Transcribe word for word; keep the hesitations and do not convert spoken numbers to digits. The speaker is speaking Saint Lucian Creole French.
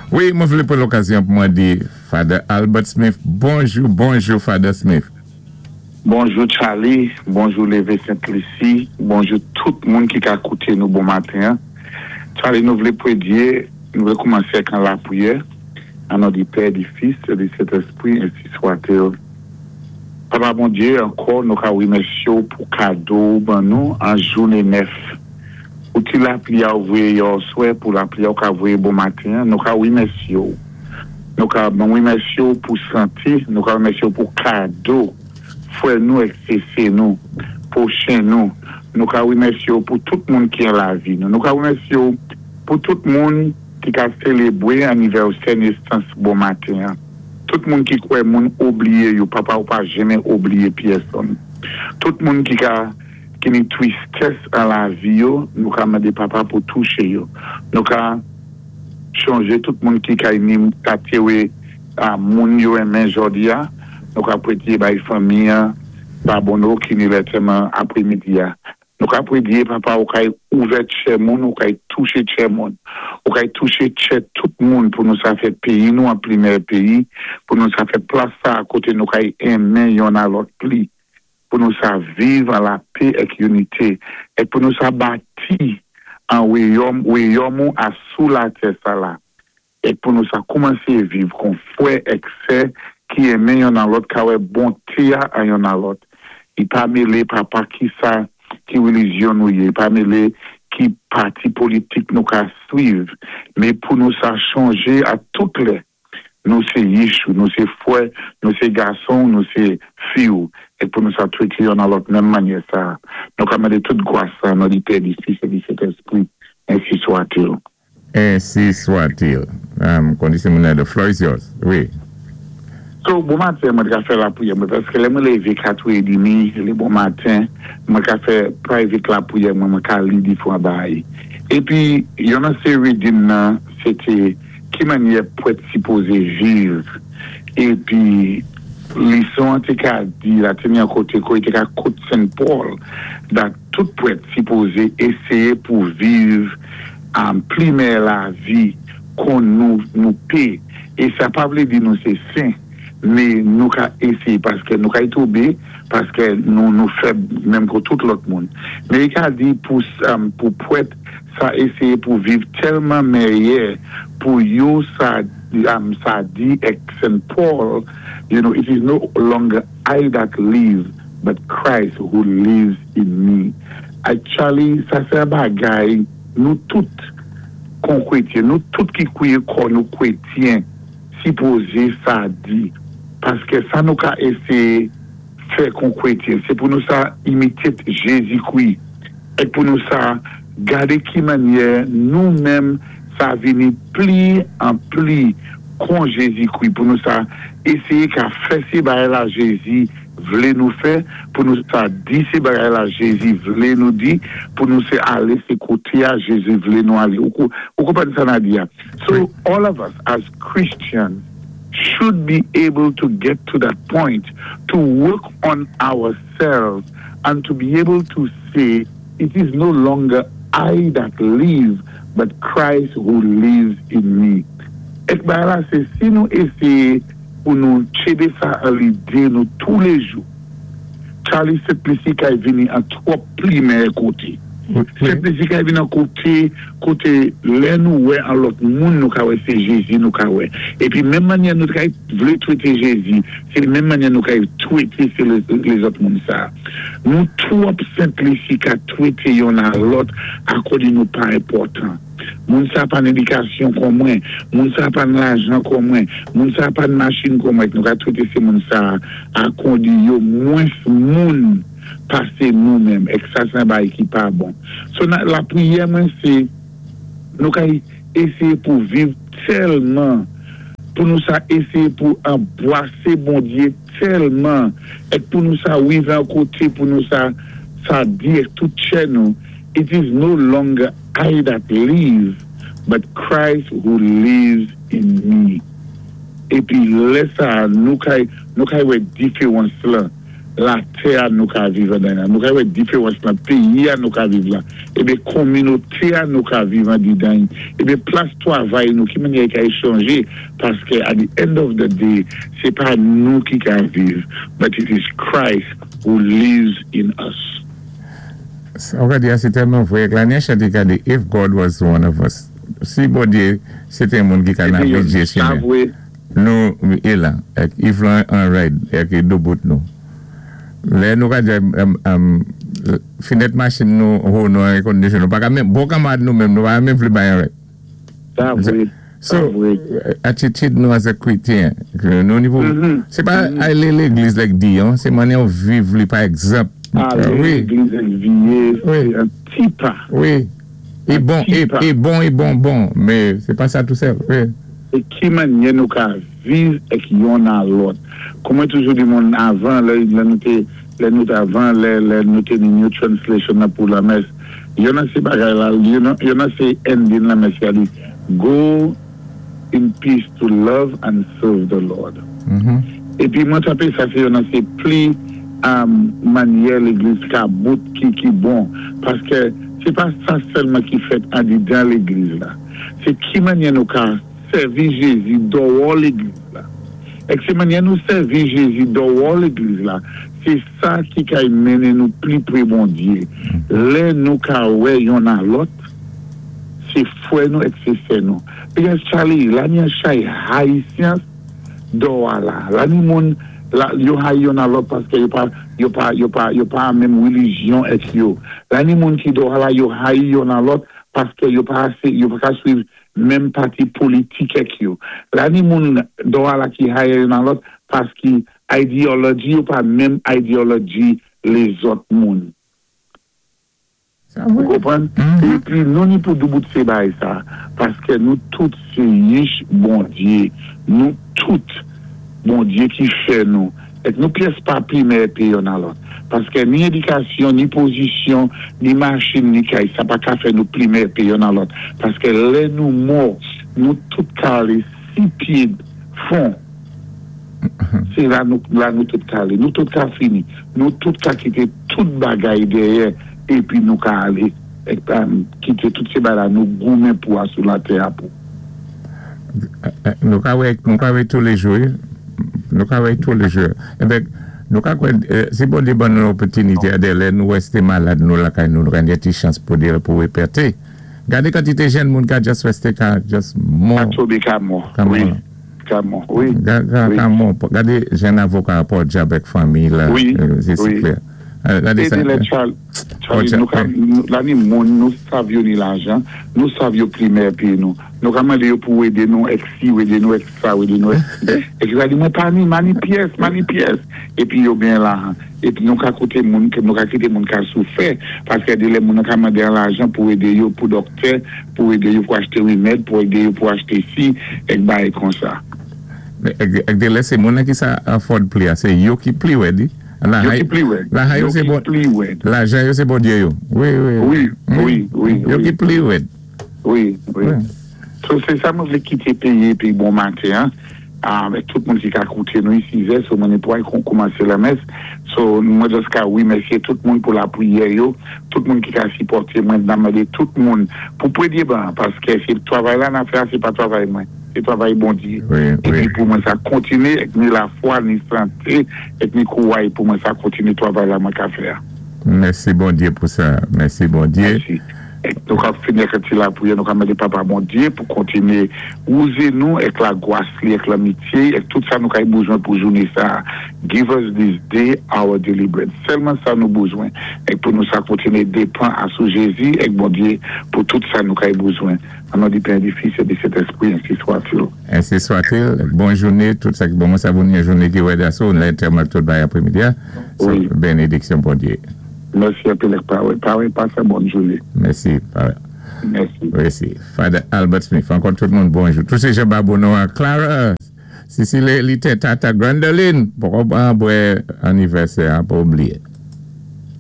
Wi, mwen vlé pwan lokazyon pou mwen di Father Albert Smith, bonjou, bonjou Father Smith. Bonjou Charlie, bonjou Lévé Sainte-Lucie, bonjou tout moun ki ka kouté nou bon maten. Charlie, nou vlé pwédyé, nou vlé koumansé ak an lapriyè. An non di Pè, di Fis, é di Sentèspwi, ensi swa-t-il. Papa Bondyé, ankò nou ka wimèsyé ou pou kado ou ban nou an jouné nèf. Pou ti lapli a ou voyé yèswè, pou lapli a ou ka voyé bon maten, nou ka wimèsyé ou. Nou ka wimèsyé ou pou santé, nou ka wimèsyé ou pou kado, frè nou èk sè nou, pwochen nou. Nou ka wimèsyé ou pou tout moun ki an lavi nou. Nou ka wimèsyé ou pou tout moun ki ka sélébwé anivèsè nésans bon maten. Tout moun ki kwè moun oubliyé yo, papa ou pa janmen oubliyé pyèsonn. Tout moun ki ka ki ni twistès an lavi yo, nou ka mandé papa pou touché yo. Nou ka chonjé tout moun ki ka ni ka téwé a moun yo renmen jòdi a, nou ka pwédyé bay fanmi an, babonno ki ni lantèman apwémidi a. Nou ka pwédyé papa ou kay ouvè tchè moun, ou kay touché tchè moun. Ou kay touché tchè tout moun pou nou sa fè péyi nou an pli mèyè péyi, pou nou sa fè plas sa a koté nou kay enmen yonn a lòt pli, pou nou sa viv an lapè èk inité, é pou nou sa bati an wayòm, wayòm ou a sou latè sa la. É pou nou sa koumansé viv kon fwè èk sè ki enmen yonn a lòt, ka wè bonté a an yonn a lòt. I pa mélé papa ki sa ki relijyon nou yé, pa mélé ki pati politik nou ka swiv, mé pou nou sa chonjé a tout lè. Nou sé Yishou, nou sé fwè, nou sé gason, nou sé fi ou, é pou nou sa twété yonn a lòt menm mannyè sa. Nou ka mandé tout gwa sa nan di Pè, di Fis é di Sentèspwi, ensi swa-t-il. Ensi swa-t-il. Um, kondisyon moun the floor is yours. Wi. So, bon maten, mwen ka fè lapriyè mwen, paské lè mwen lévé katrè édmi, lé bon maten, mwen ka fè private lapriyè mwen, mwen ka li difwan bagay. Épi, yon nan sé reading nan, sé té ki mannyè pwèt sipozé viv. Épi, lison an té ka di, la té ni an koté, ko té ka quote Saint Paul, that tout pwèt sipozé éséyé pou viv an pli mèyè lavi kon nou nou pé. É sa pa vlé di nou sé sen, mé nou ka éséyé paské nou ka tonbé, paské nou nou fèb menm kon tout lòt moun. Mé i ka di pou um, pou pwèt sa éséyé pou viv tèlman mèyè pou yo sa um, sa di èk Saint Paul, you know, it is no longer I that live, but Christ who lives in me. Actually, sa sé bagay nou tout kon kwétyen, nou tout ki kwiyé kon nou kwétyen, sipozé sa di. Paské sa nou ka éséyé fè kon kwétyen, sé pou nou sa imité Jézi-Kwi, é pou nou sa gadé ki mannyè nou menm sa vini pli an pli kon Jézi-Kwi, pou nou sa éséyé ka fè sé bagay la Jézi vlé nou fè, pou nou sa di sé bagay la Jézi vlé nou di, pou nou sé alé sé koté a Jézi vlé nou alé. Ou kou- ou konpwann sa n ap di a? So, all of us as Christians should be able to get to that point, to work on ourselves and to be able to say, it is no longer I that live, but Christ who lives in me. Èk bagay la, sé si nou éséyé pou nou tchébé sa an lidé nou tou lé jou. Charlie Sent-Lisi kay vini an twòp pli mèyè koté. Sent-Lisi kay vini an koté, koté lè nou wè an lòt moun nou ka wè sé Jézi nou ka wè. Épi menm mannyè nou kay vlé twété Jézi, sé menm mannyè nou kay twété sé lézòt moun sa. Nou twòp Sent-Lisi ka twété yonn a lòt akòdi nou pa enpòtan. Moun sa pa édikasyon kon mwen, moun sa pa lajan kon mwen, moun sa pa machin kon mwen, nou ka twété sé moun sa akòdi yo mwens moun pasé nou menm, èk sa sé bagay ki pa bon. So nan, lapriyè mwen sé nou ka éséyé pou viv tèlman, pou nou sa éséyé pou anbwasé Bondyé tèlman, èk pou nou sa wivé an koté, pou nou sa sa di èk tout tchè nou, it is no longer I that live, but Christ who lives in me. Épi lè sa, nou kay, nou kay wè diféwans la. Latè a nou ka viv andan, nou ka wè diféwans nan péyi a nou ka viv la, ébé konminóté a nou ka viv andidan, ébé plas twavay nou, ki mannyè ka chanje, paské at the end of the day, sé pa nou ki ka viv, but it is Christ who lives in us. Sa ou ka di a, sé tèlman vwé. Lanyè chanté ka di, "If God was one of us." Si Bondyé, sé té moun ki ka navigé Sa chimen. Vwé. Nou, é la, èk if lan an ride, èk é doubout nou. Lè nou ka di, um, um, finèt machin nou, ho nou an air condition, nou pa ka menm, bon kanmad nou menm, nou pa menm vlé bay an ride. Sa vwé. So, Sa vwé. Attitude nou as a krétyen, ke nou ni pou, Mhm. sé pa alé légliz lèk di, an, sé mannyè ou viv li pa egzanp. Alé Wi, légliz èk viyé, Wi. sé an ti pa. Wi. É bon, é, ti pa. É bon, é bon, bon, mé sé pa sa tou sèl, wi. É ki mannyè nou ka viv èk yonn a lòt. Kon mwen toujou di moun avan, lè, lè nou té, lè nou té avan, lè, lè nou té ni New Translation nan pou lamès, yonn nan sé bagay la, yonn nan, yonn nan sé ending lamès ya di, "Go in peace to love and serve the Lord." Mhm. Épi mwen twouvé sa sé yonn nan sé pli um, mannyè légliz ka bout ki ki bon, paské sé pa sa sèlman ki fèt andidan légliz la. Sé ki mannyè nou ka sèvi Jézi dèwò légliz la. Èk sé mannyè nou sèvi Jézi dèwò légliz la, sé sa ki ka mennen nou pli pwé Bondyé. Lè nou ka wè yonn a lòt, sé fwè nou èk sé sè nou. Because Charlie, la ni an chay Haïtien dèwò la. La ni moun, la, yo hayi yonn a lòt paské yo pa, yo pa, yo pa, yo pa menm rélijyon èk yo. La ni moun ki dèwò la, yo hayi yonn a lòt paské yo pa asé, yo pa ka swiv menm pati politik èk yo. La ni moun dèwò la ki hayi yonn a lòt paski ideology yo pa menm ideology lézòt moun. Sa Ou vwé. konpwann? Mhm. Épi nou ni pou doubout sé bay sa, paské nou tout sé yich Bondyé, nou tout Bondyé ki fè nou, èk nou pyès pa pi mèyè pé yonn a lòt. Paské ni édikasyon, ni pozisyon, ni machin, ni kay, sa pa ka fè nou pli mèyè pé yonn a lòt. Paské lè nou mò, nou tout ka alé si pyé fon, sé la nou, la nou tout ka alé. Nou tout ka fini. Nou tout ka kité tout bagay dèyè, épi nou ka alé, èk, um, kité tout sé bagay la nou goumen pou a sou latè a pou. Nou ka wè, nou ka wè tous les jours, nou ka wè tous les jours. Ebyen, nou ka kwè, eh, si Bondyé ban nou opòtinité a dé lè nou wèsté malad nou lakay nou, nou ka gen ti chans pou di pou wépèté. Gadé kantité jenn moun ka just wèsté ka just mò. Ka tonbé ka mò. Ka mò. Wi. Ka mò, wi. Ga, ga, Wi. ka mò. Gadé jenn avoka pòdyab èk fanmi la. Wi, euh, sé wi. Klè. Euh, Gadé É sa. dé lè Charles, Charlie, Oh, nou ka, nou, la ni moun, nou sav yo ni lajan, nou sav yo pli mèyè pé nou. Nou ka mandé yo pou édé nou èk si, édé nou èk sa, édé nou èk si. Épi yo ka di, mwen pa ni, ma ni pyès, ma ni pyès. Épi yo gen lajan. Épi nou ka koté moun, ke nou ka kité moun ka soufè, paské dé lè moun nou ka mandé an lajan pou édé yo pou doktè, pou édé yo pou achté wimèd, pou édé yo pou achté si, èk bagay kon sa. Èk èk dé lè sé moun ki sa afford pli a, sé yo ki pli wè di. La Yo hay- ki pli wè. La hay yo Yo sé ki bon. pli wè. Lajan yo sé Bondyé yo. Wi, wi. Wi, wi, wi, Yo wi. ki pli wè. Wi, wi. Wi. So, sé sa mwen vlé kité péyé épi bon maten, hein, avèk tout moun ki ka koute nou isi, zè, so mwen pou kon koumansé lamès. So, mwen just ka wimèsyé tout moun pou lapriyè yo, tout moun ki ka sipòté mwen, nan mandé tout moun pou pwédyé ban, paské sé twavay la n ap fè, sé pa twavay mwen, sé twavay Bondyé. Wi, Épi wi. pou mwen sa kontiné, èk ni lafwa, ni santé, èk ni kouway pou mwen sa kontiné twavay la mwen ka fè. Mèsi Bondyé pou sa. Mèsi Bondyé. Mèsi. Èk nou ka fini ak ti lapriyè, nou ka mandé Papa Bondyé pou kontiné wouze nou èk lagwas li, èk lanmityé, èk tout sa nou kay bezwen pou jouné sa. "Give us this day our daily bread." Sèlman sa nou bezwen. Èk pou nou sa kontiné dépann a sou Jézi èk Bondyé pou tout sa nou kay bezwen. An non di Pè, di Fis é di Sentèspwi, ainsi soit-il. Ainsi soit-il. Bon jouné, tout sa ki bon. Mwen sa voun yon jouné ki wè daso, lè tèlman tout bay apré-midi. So, Wi. Bénédiksyon Bondyé. Mèsi anpil Pawè. Pawè, pasé bòn jouné. Mèsi. Pawè. Mèsi. Mèsi. Father Albert Smith. Ankò tout moun bonjou. Tout sé jan Babouno a Clara, Cécile Lité, Tata Grandoline. Pou bwè anivèsè, pa oubliyé.